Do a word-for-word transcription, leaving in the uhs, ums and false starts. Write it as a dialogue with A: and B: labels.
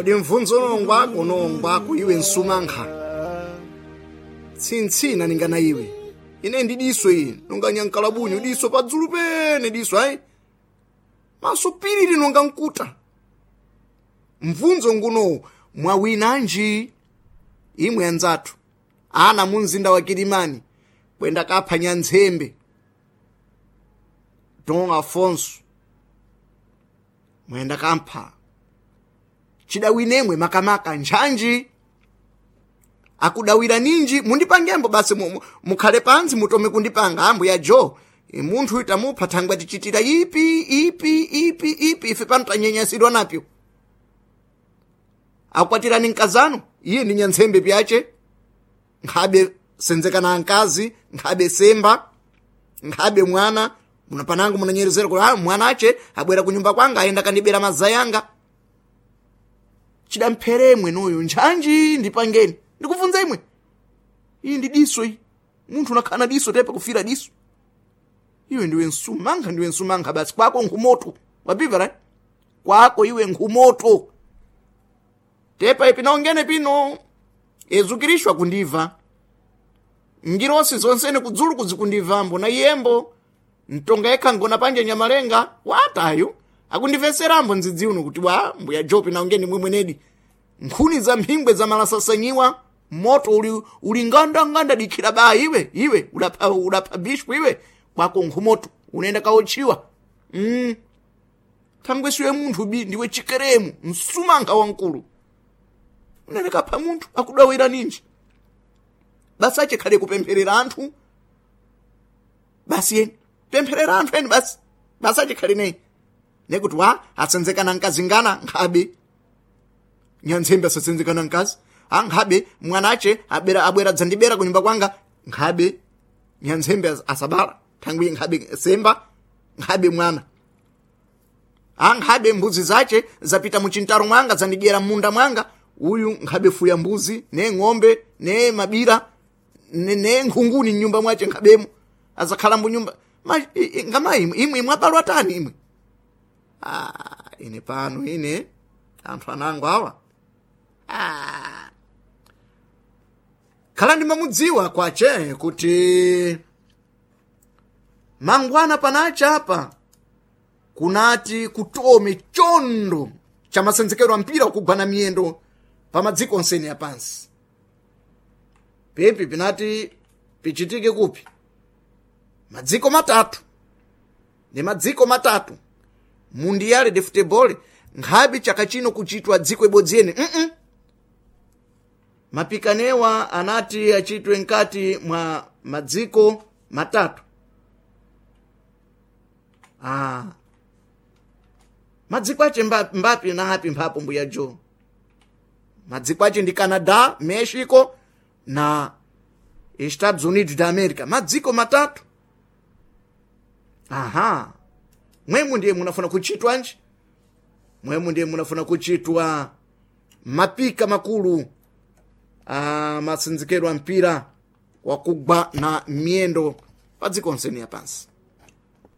A: Kodi mvunzo nongwako nongwako iwe nsumankha tsintsina ningana iwe ine ndi diso iyi nonga nyankalabunyu diso padzulu pene diso ayi maso piriri nonga nkuta. Mvunzo ngunowu mwawinanji imwe anzathu ana mu mzinda wa Kilimani kwenda kapha nyanzembe Don Afonso mwenda kampha chidawinemwe makamaka ntchanji akudawira ninji mundipangembo basi mu- mu- mukhale pansi mutome kundipanga ambuya jo E, munthu itamupha thangwe tichitira ipi ipi ipi ipi ife pano tanyenyasidwa napyo akwatirani mkazano iye ndi nyantsembe pyace nkhabe senzekana ankazi nkhabe semba nkhabe mwana munapanango munanyerezera kuti ah, mwana ache abwera kunyumba kwanga ayenda kandibera mazayi anga chidampheremwe noyo ntchanji ndipangeni ndikubvunza imwe iyi ndi diso iyi munthu unakhala na diso tepa kufira diso iwe ndiwe nsumankha ndiwe nsumankha basi kwako nkhumoto wapimva right kwako iwe nkhumoto tepa ipi naongene pino ezukirishwa kundibva ngirosi zonsene kudzulu kuzikundibvambo na iyembo mtonga yekha ngona panje nyamalenga watayo akundimveserambo ndzidzi uno kuti wa mbuya jopi naongeni mwimwenedi nkhuni za mphingwe za malasasanyiwa moto uli, uli ngandanganda dikhira ba iwe iwe udapha udapha bishpu iwe kwako nkhumoto unaenda kaotchiwa mm. thangwe siwe munthu bi ndiwe chikeremu msumankha wamkulu unene kapha munthu akudawira ninji basi achikhale kupempherera anthu basi yeni pempherera anthu eni basi basi achikhale neyi nekuti wa asenzekana nkazingana nkhabe nyantsembe asasenzekana nkazi a nkhabe mwanache abera abwera dzandibera kunyumba kwanga nkhabe nyantsembe as- asabala thangwi nkhabe semba nkhabe mwana a nkhabe mbuzi zache zapita muchintaro mwanga zandidyera munda mwanga uyu nkhabe fuya mbuzi ne ng'ombe ne mabira ne, ne nkhunguni mnyumba mwache nkhabemo azakhala mbunyumba Ma- i- i- ngama imwe imwe imwe tani imwe ah, ine pano ine anthu anango awa ah. Khala ndimamudziwa kwache kuti mangwana panacha apa kunati kutome chondo cha masenzekero a mpira wakugwana miyendo pa madziko onsene apansi pipi pinati pichitike kupi madziko matatu ni madziko matatu mundiyale de futebol nkhabe chaka chino kuchitwa dziko ibodzi ene mm -mm. Mapikanewa anati achitwe nkati mwa madziko matatu ah. Madziko ache mba- mbapi na api mphapo mbuya jo madziko ache ndi Canada, Mexico na Estados Unidos da America madziko matatu aha mwemu ndiye munafuna kuchitwa nji mwemu ndiye munafuna kuchitwa mapika makulu a masenzekero a mpira wakugwa na miyendo pa dziko onsene yapansi.